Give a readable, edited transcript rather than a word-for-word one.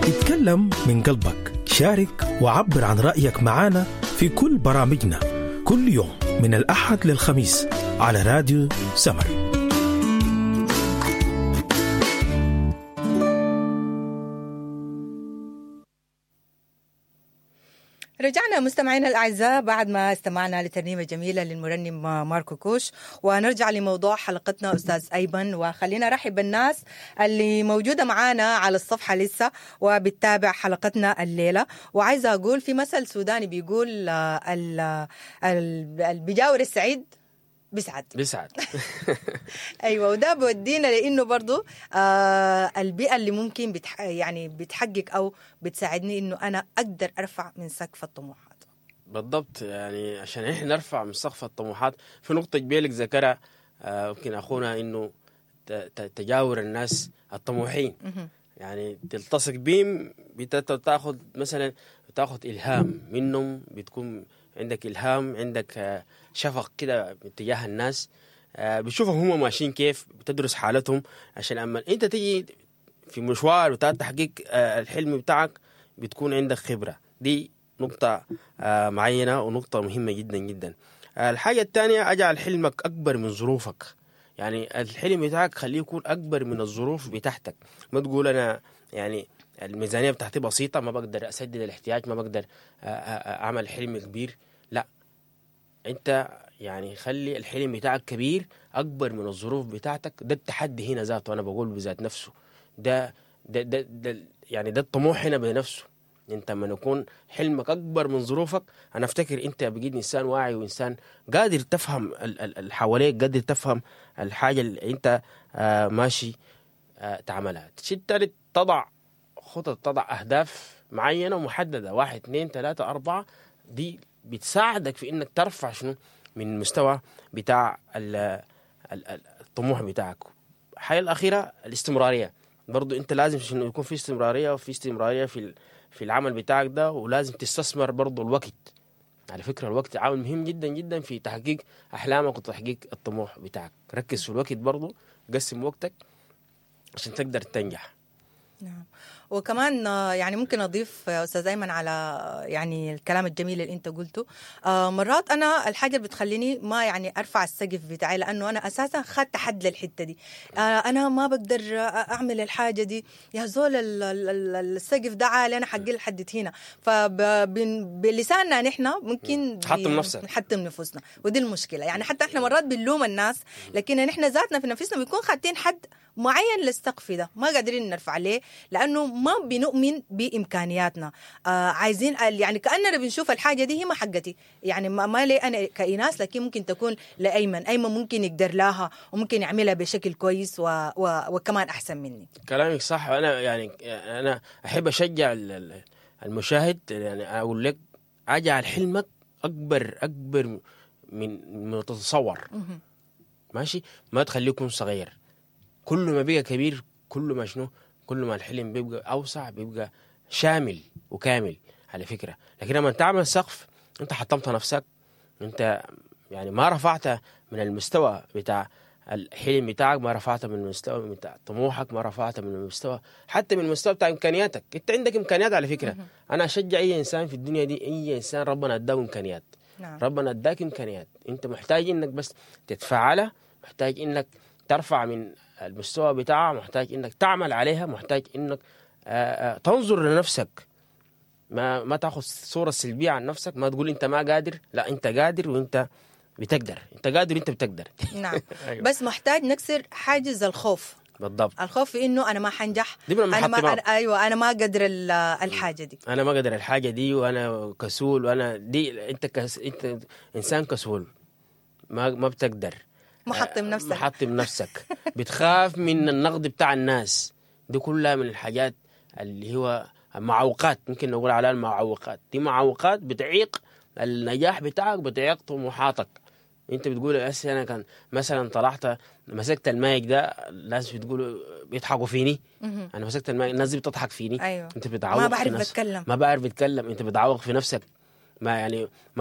اتكلم من قلبك، شارك وعبر عن رأيك معنا في كل برامجنا كل يوم من الأحد للخميس على راديو سمر. رجعنا مستمعينا الأعزاء بعد ما استمعنا لترنيمة جميلة للمرنم ماركو كوش، ونرجع لموضوع حلقتنا أستاذ أيمن. وخلينا رحب بالناس اللي موجودة معانا على الصفحة لسه وبتتابع حلقتنا الليلة. وعايزة أقول في مثل سوداني بيقول البجاور السعيد بيسعد بيسعد. ايوه، وده بودينا لانه برضو البيئة اللي ممكن يعني بتحقق او بتساعدني انه انا اقدر ارفع من سقف الطموحات. بالضبط، يعني عشان احنا نرفع من سقف الطموحات في نقطة جبيلك ذكرها ممكن اخونا، انه تجاور الناس الطموحين، يعني تلتصق بهم، بتاخذ مثلا بتاخذ الهام منهم، بتكون عندك الهام، عندك شفق كده باتجاه الناس، بتشوفهم هم ماشيين كيف، بتدرس حالتهم، عشان اما انت تيجي في مشوار بتاع تحقيق الحلم بتاعك بتكون عندك خبرة. دي نقطة معينة ونقطة مهمة جدا جدا. الحاجة الثانية، اجعل حلمك أكبر من ظروفك. يعني الحلم بتاعك خليه يكون أكبر من الظروف بتاعتك. ما تقول أنا يعني الميزانية بتاعتي بسيطة، ما بقدر أسدد الاحتياج، ما بقدر أعمل حلم كبير. لا، أنت يعني خلي الحلم بتاعك كبير، أكبر من الظروف بتاعتك. ده التحدي هنا ذاته، أنا بقول بذات نفسه ده ده ده, ده يعني ده الطموح هنا بنفسه. انت لما يكون حلمك اكبر من ظروفك، انا افتكر انت بقيت انسان واعي وانسان قادر تفهم اللي حواليك، قادر تفهم الحاجة اللي انت ماشي تعملها. الشيء الثالث، تضع خطط، تضع اهداف معينة ومحددة، 1 2 3 4. دي بتساعدك في انك ترفع شنو من مستوى بتاع الطموح بتاعك. الحاجة الاخيرة الاستمرارية. برضو انت لازم شنو يكون في استمرارية، وفي استمرارية في العمل بتاعك ده، ولازم تستثمر برضو الوقت. على فكرة الوقت عامل مهم جدا جدا في تحقيق أحلامك وتحقيق الطموح بتاعك. ركز في الوقت برضو، قسم وقتك عشان تقدر تنجح. نعم، وكمان يعني ممكن أضيف أستاذ أيمن على يعني الكلام الجميل اللي أنت قلته. مرات أنا الحاجة اللي بتخليني ما يعني أرفع السقف بتاعي، لأنه أنا أساسا خدت حد للحتة دي. أنا ما بقدر أعمل الحاجة دي، يا زول السقف ده عالي، أنا حقي لحد هنا. فبلساننا نحن ممكن نحطم نفوسنا، ودي المشكلة. يعني حتى إحنا مرات بنلوم الناس، لكن نحن ذاتنا في نفسنا بنكون خاتين حد معين للسقف ده، ما قادرين نرفع ليه، لأنه ما بنؤمن بإمكانياتنا. عايزين يعني كأننا بنشوف الحاجة دي هي ما حقتي، يعني ما لي أنا كإناس، لكن ممكن تكون لأيمن. أيمن ممكن يقدر لها وممكن يعملها بشكل كويس وكمان أحسن مني. كلامك صح. أنا يعني أنا أحب أشجع المشاهد، يعني أقول لك أجعل حلمك أكبر من تتصور. ماشي، ما تخليه يكون صغير. كل ما بقى كبير، كل ما شنو، كل ما الحلم بيبقى أوسع، بيبقى شامل وكامل على فكرة. لكن لما تعمل سقف، أنت حطمت نفسك، أنت يعني ما رفعت من المستوى بتاع الحلم بتاعك، ما رفعت من المستوى بتاع طموحك، ما رفعت من المستوى حتى من المستوى بتاع إمكانياتك. أنت عندك إمكانيات على فكرة. أنا أشجع أي إنسان في الدنيا دي، أي إنسان ربنا أداه إمكانيات. نعم. ربنا أداك إمكانيات، أنت محتاج إنك بس تتفعلها، محتاج إنك ترفع من المستوى بتاعها، محتاج انك تعمل عليها، محتاج انك تنظر لنفسك، ما تاخذ صورة سلبية عن نفسك، ما تقول انت ما قادر، لا انت قادر وانت بتقدر، انت قادر وانت بتقدر. نعم. أيوة. بس محتاج نكسر حاجز الخوف. بالضبط، الخوف في انه انا ما حنجح، انا ما ايوه انا ما قادر الحاجة دي، انا ما قادر الحاجة دي، وانا كسول، وانا دي انت انت انسان كسول، ما بتقدر، محطم نفسك، محطم نفسك، بتخاف من النقد بتاع الناس. دي كلها من الحاجات اللي هو معوقات، ممكن نقول عليها المعوقات. دي معوقات بتعيق النجاح بتاعك، بتعيق طموحاتك. انت بتقول هسه انا كان مثلا طلعت مسكت المايك ده، الناس بتقولوا بيضحكوا فيني، انا مسكت المايك الناس دي بتضحك فيني. أيوة. انت بتعوق، ما بعرف اتكلم، ما بعرف اتكلم، انت بتعوق في نفسك. ما يعني